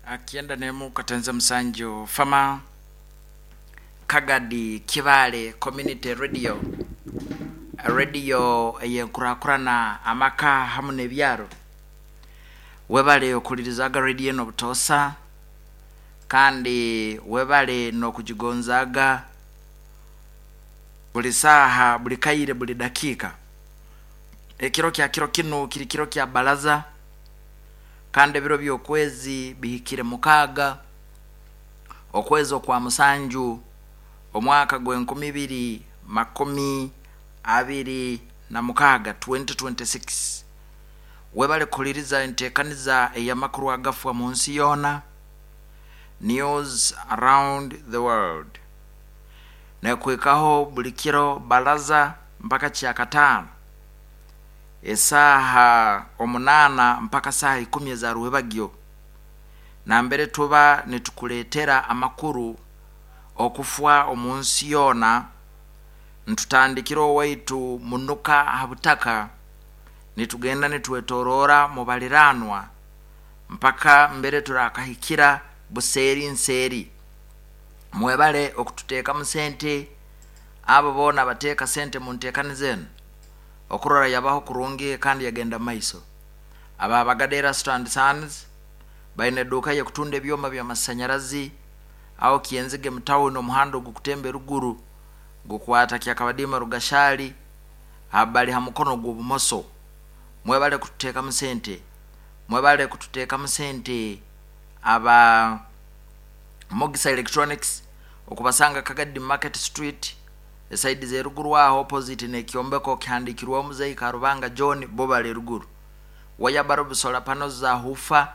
91 katenze musanju fama Kagadi Kibale Community Radio, radio ey'enkurakurana amaka hamu n'ebyaro. Webale okulirizaga radio eno butoosa kandi webale n'okugigonzaaga buli saaha, buli kaire, buli dakiika. Ekiro kya kiro kinu kiri kiro kya baraza kandi ebiro by'okwezi bihikire 6 okwezi okwa musanju omwaka gw'e 2026, 2026. Webale kuhuliriza enteekaniza ey'amakuru agafwa mu nsi yoona, News Around the World. Nekwikaho buli kiro baraza mpaka kyakataano esaaha 8 mpaka saaha 10 eza ruhebagyo, nambere tuba nitukuleetera amakuru okufwa omu nsi yoona. Ntutandikira owaitu munuka ha butaka, nitugenda nitwetoroora mu baliranwa mpaka mbere turakahikira buseeri nseeri. Mwebale okututeekamu sente, abo boona bateeka sente mu nteekaniza enu okurora yabaho kurungi kandi yagenda maiso. Aba Bagadera Stand Sons baine eduuka y'okutunda ebyoma by'amasanyarazi aho Kyenzige mu tawuni, omuhanda ogukutemba eruguru gukwata Kyakabadiima Rugashali bali ha mukono gw'obumoso. Mwebale kututeekamu sente, mwebale kututeekamu sente aba Mogisa Electronics, okubasanga Kagadi Market Street esaidi z'eruguru aho opposite n'ekyombeko kihandikirweho Muzeyi Karubanga John, bo bali eruguru. Waya barubu, solar panels za hufa,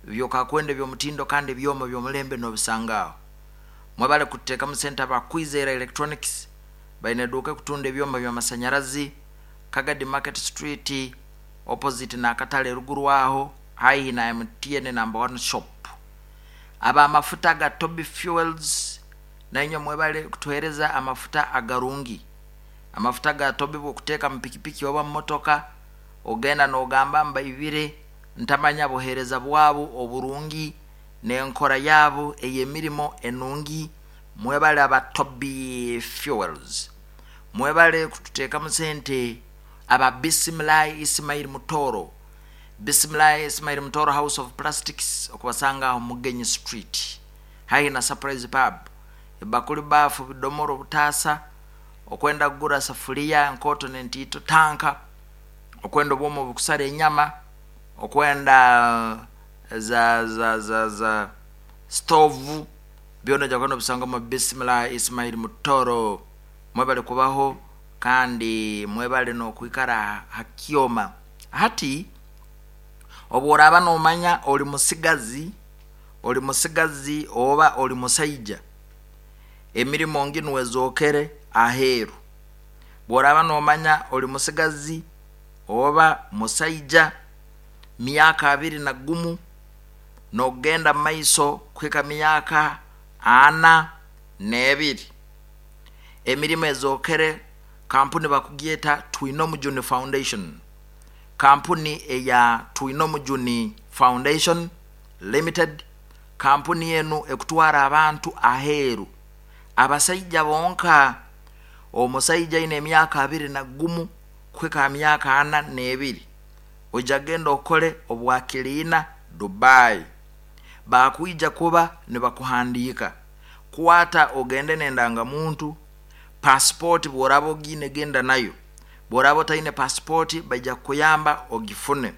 byokakwenda eby'omutindo kandi ebyoma by'omulembe n'obisanga aho. Mwebale kututeekamu sente aba Kwizera Electronics, baine eduuka ekutunda ebyoma by'amasanyarazi Kagadi Market Street opposite n'akatale eruguru aho haihi na MTN number 1 shop. Aba amafuta ga Toby Fuels, nainywe mwebale kutuheereza amafuta agarungi. Amafuta ga Toby bw'okuteeka mu pikipiki oba mu motoka ogenda n'ogamba mbaibire ntamanya buheereza bwabo oburungi n'enkora yaabo ey'emirimo enungi. Mwebale aba Toby Fuels. Mwebale kututeekamu sente aba Bisimilayi Ismail Mutoro, Bisimilayi Ismail Mutoro House of Plastics, okubasanga aho Mugenyi Street haihi na Surprise Pub. Ebakuli, baafu, bidomoro, obutaasa, okwenda kugura safuliya enkooto n'entiito, tanka, okwenda obwoma obukusara enyama, okwenda za za za za stovu, byona ojja kwenda obisanga omu Bisimilayi Ismail Mutoro. Mwebale kubaho kandi mwebale n'okwikara ha kyoma. Hati obworaaba n'omanya oli musigazi, oli musigazi oba oli musaija, emirimo nginu ezookere aheeru. Bw'oraaba n'omanya oli musigazi oba musaija, myaka 21 n'okugenda mu maiso kuhika myaka 42, emirimo ezookere. Kampuni bakugyeta Twinomujuni Foundation. Kampuni eya Twinomujuni Foundation Limited, kampuni enu ekutwara abantu aheeru, abasaija bonka. Omusaija aine emyaka 21 kuhika ha myaka 42, ojja kugenda okole obwakiliina Dubai, bakwija kuba nibakuhandiika. Kwata ogende n'endangamuntu, pasipoti bw'oraaba ogiine genda nayo, bw'oraaba otaine pasipoti baija kukuyamba ogifune.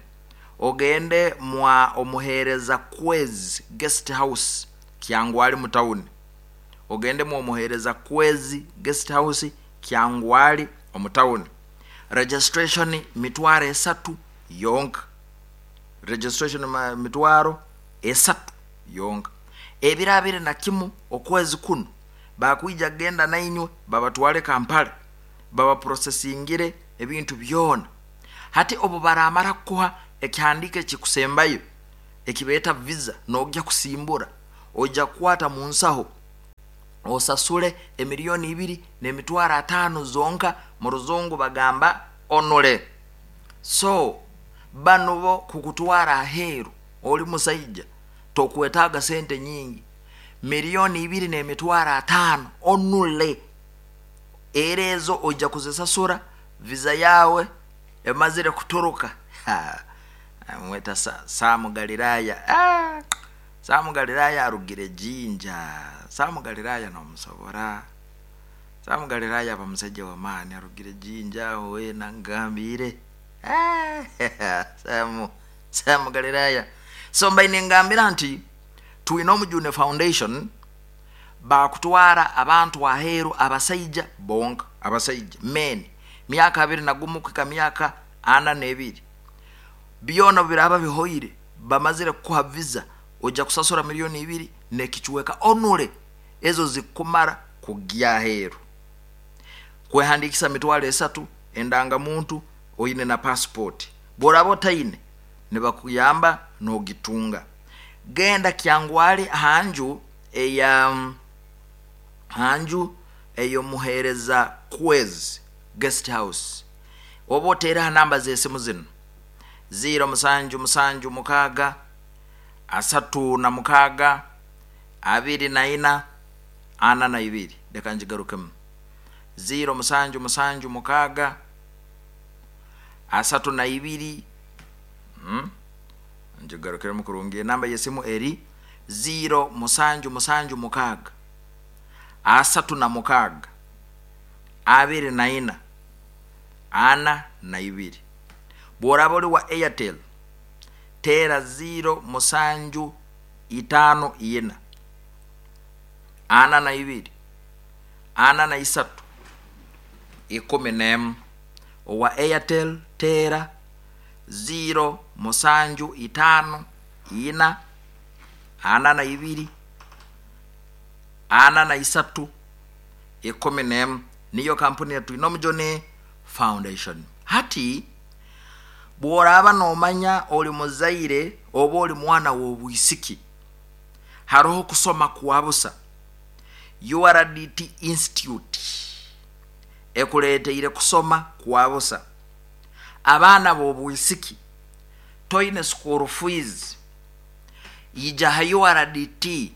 Ogende mwa omuheereza Kwezi Guest House Kyangwali mu tawuni, ogende mwa omuheereza Kwezi Guest House Kyangwali omu tawuni. Registration 30,000 yonka, registration 30,000 yonka. Ebiro 21 okwezi kunu bakwija kugenda nainywe babatwale Kampala babaprocessingire ebintu byona. Hati obu baramara kukuha ekihandiiko ekikusembayo ekibeeta visa n'ogya kusimbura, ojja kukwata mu nsaho osasule 2,500,000 zonka, mu ruzungu bagamba onule. So banu bo kukutwara aheeru oli musaija. Tokwetaaga sente nyingi, 2,500,000 onule. Era ezo ojja kuzisasura visa yawe emazire kuturuka. Mweta Samu Galilaya. Samu Galilaya arugire Jinja. Samu Galilaya nomusobora. Samu Galilaya aba musajja w'amaani, arugire Jinja aho weena ngambire. Samu Galilaya. So mbaine ngambira nti twine Omujune Foundation bakutwara abantu aheeru, abasaija bonka, abasaija men, myaka 21 kuhika myaka 42. Byona biraba bihoire, bamazire kukuha visa, ojja kusasura 2,000,000 n'ekichweka onule, ezo zikumara kugya aheeru. Kwehandikisa 300,000, endangamuntu oine na passport. Bworaba otaine nibakuyamba n'ogitunga. Genda Kyangwali hanju eya hanju ey'omuheereza Kwezi Guest House, oba oteereho namba z'esimu zinu: 0776 36 24 42. Leka ngigarukemu: 0776 32, ngigarukiremu kurungi. Enamba y'esimu eri 0776 36 24 42. Bw'oraba oli wa Airtel, teera 0754 42 43 11. Owa Airtel teera 0754 42 43 11. Niyo kampuni ya Twinomujune Foundation. Hati bw'oraaba noomanya oli muzaire oba oli mwana w'obwisiki, haroho kusoma kwa busa. URDT Institute ekuleeteire kusoma kwa busa. Abaana b'obwisiki, toine school fees, ija ha URDT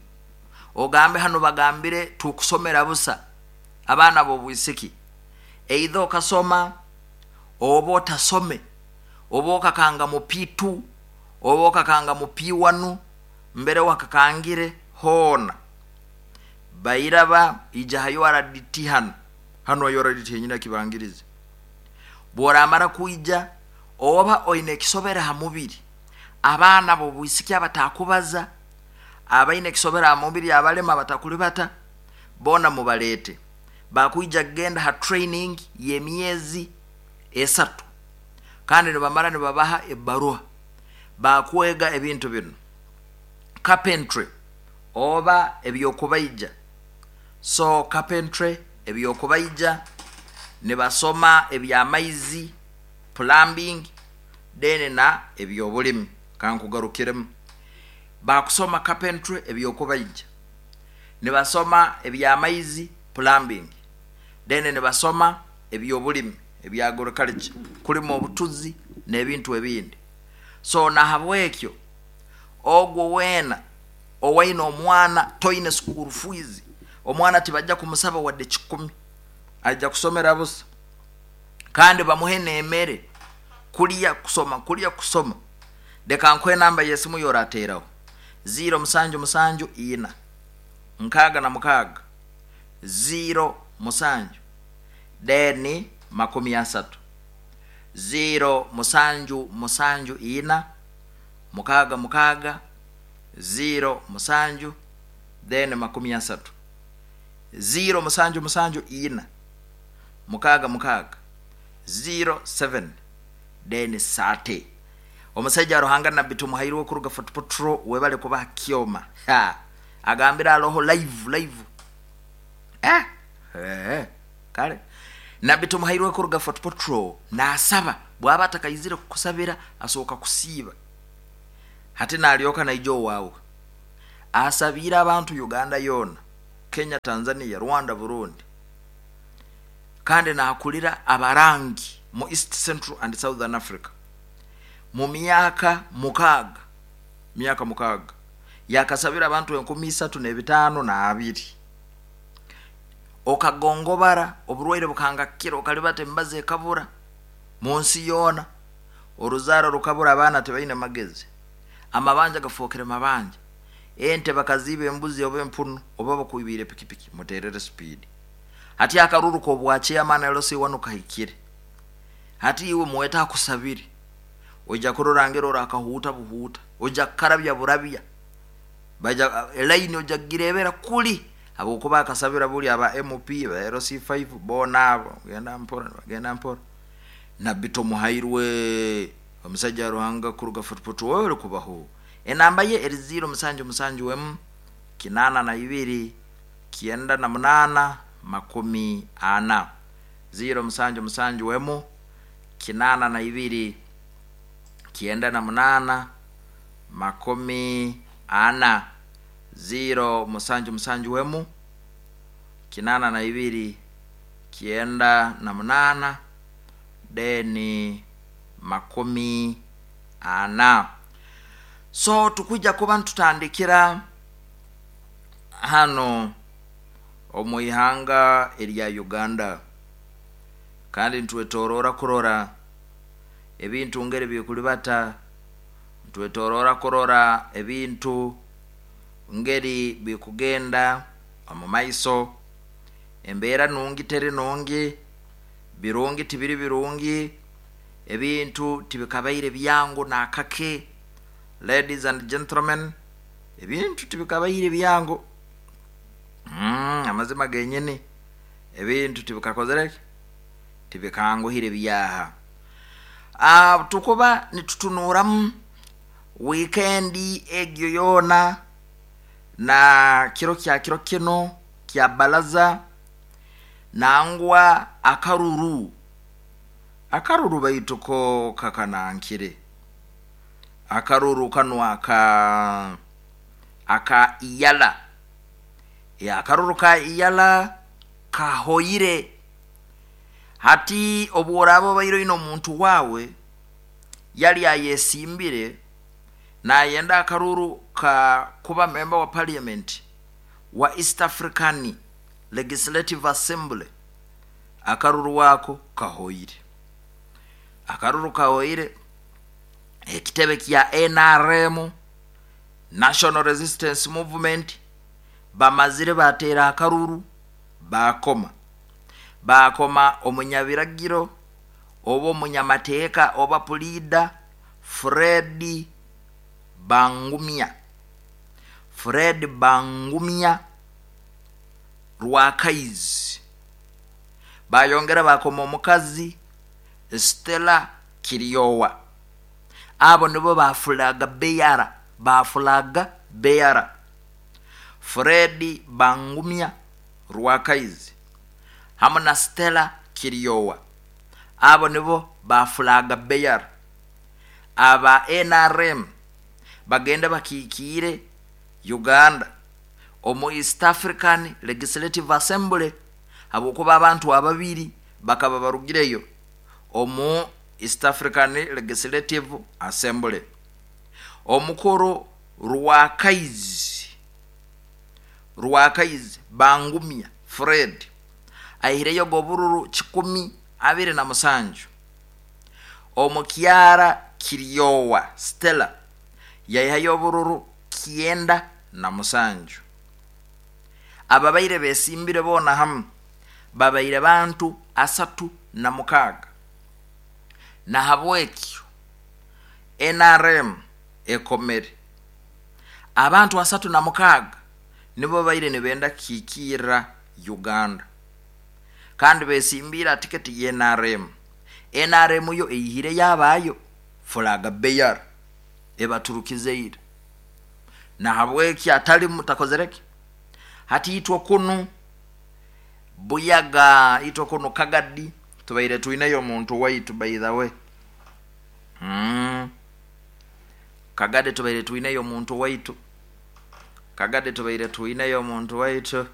ogambe hanu bagambire tukusomera busa abaana b'obwisiki. Either okasoma oba otasome, oba okakanga mu P2 oba okakanga mu P1, mbere wakakangire hoona bairaba, ija ha URDT hanu hanu URDT yenyini akibangirize. Bworamara kwija, oba oine ekisobera ha mubiri, abaana b'obwisiki abatakubaza, abaine ekisobera ha mubiri, abalema abatakulibata, boona mubaleete. Bakwija kugenda ha training y'emyezi 3, kandi nibamara nibabaha ebbaruha. Bakwega ebintu binu: carpentry oba ebyokubaija, so carpentry ebyokubaija, nibasoma ebyamaizi, plumbing, then na ebyobulimi. Kankugarukiremu: bakusoma carpentry ebyokubaija, nibasoma ebyamaizi, plumbing, then nibasoma ebyobulimi, ebya agriculture, kulima obutuzi n'ebintu ebindi. So nahabwekyo ogwo weena owaine omwana, toine school fees, omwana tibajja kumusaba wadde 100, ajja kusomera busa, kandi bamuhe n'emere, kulya kusoma, kulya kusoma. Leka nkuhe namba y'esimu yorateeraho: 0774 66 07 then 30, 0774 66 07 then 30, 0774 66 07 then 30. Omusajja Ruhanga Nabbi Tumuhairwe kuruga Fort Portal, webale kubaha kyoma. Ha, agambira aloho live live. Kale Nabbi Tumuhairwe kuruga Fort Portal nasaba, bwaba atakaizire kukusabira asooka kusiiba, hati nalyoka naija owaawe. Asabiire abantu Uganda yoona, Kenya, Tanzania, Rwanda, Burundi, kandi nakulira abarangi mu East, Central and Southern Africa. Mu myaka 6, myaka 6 Yakasabira abantu 3502. Okagongobara, oburwaire bukangakira, okalibata emibazi ekabura mu nsi yoona, oruzaaro rukabura, abaana tibaine magezi, amabanja gafookere mabanja, ente bakaziiba, embuzi oba empunu, oba bakwibiire pikipiki, muteerere speed. Hati akaruru k'obwa chairman LC1 kahikire. Hati iwe mwete akusabire, oija kurora ngeri orakahuuta buhuuta, oija kukarabya burabya, baija elaini oija kugireebera kuli, habwokuba akasabira buli aba MP, ba LC5 boona abo, genda mpora, genda mpora. Nabbi Tomuhairwe, omusajja wa Ruhanga kuruga Fort Portal kubaho. Enamba ye eri 077 82 98 40. 077 82 98 40. 077 82 98 deni 40. So tukwija kuba ntutandikira hano omu ihanga erya Uganda, kandi ntwetorora kurora ebintu ngeri bikulibata, ntwetorora kurora ebintu ngeri bikugenda omu maiso. Embeera nungi teri nungi, birungi tibiri birungi, ebintu tibikabaire byangu nakake. Ladies and gentlemen, ebintu tibikabaire byangu. Amazima genyini ebintu tibikakozere, tibikanguhire byaha. Tukuba nitutunuramu wiikendi egyo yoona na kiro kya kiro kino kya balaza, nangwa akaruru akaruru baitu ko kakanankire akaruru kanu aka iyala ya akaruru ka iyala kahoire. Hati obworaba obaire oine omuntu wawe yali ayesimbire nayenda akaruru ka kuba member wa parliament wa East African Legislative Assembly, akaruru wako kahoire, akaruru kahoire. Ekitebe kya NRM, National Resistance Movement, bamazire batera akaruru, bakoma omunyabiragiro oba omunyamateeka oba pulida Fred Bangumya, Fred Bangumya Rwakaizi. Bayongera bakoma omukazi Stella Kiryowa. Abo nibo bafulaga beyara, bafulaga beyara. Fred Bangumya Rwakaizi hamu na Stella Kiryowa, abo nibo bafulaga beyara. Aba NRM bagenda bakikiire Uganda omu East African Legislative Assembly, habwokuba abantu ababiri bakaba barugireyo omu East African Legislative Assembly. Omukuru Rwakaizi Bangumya Fred aihireyo gobururu 127. Omukyara Kiryowa Stella yaihayo obururu 97. Ababaire besimbire boona hamu babaire bantu 36. Nahabwekyo NRM ekomere abantu 36 nibo baire nibenda kikira Uganda, kandi besimbira tiketi ye NRM. NRM yo eyihire yabayo fulaga beyar ebaturukizeire. Nahabwekyo atali mutakozereke. Hati itwe kunu Buyaga, itwe kunu Kagadi tubaire tuineyo omuntu waitu, by the way. Kagadi tubaire tuineyo omuntu waitu, Kagadi tubaire tuineyo omuntu waitu.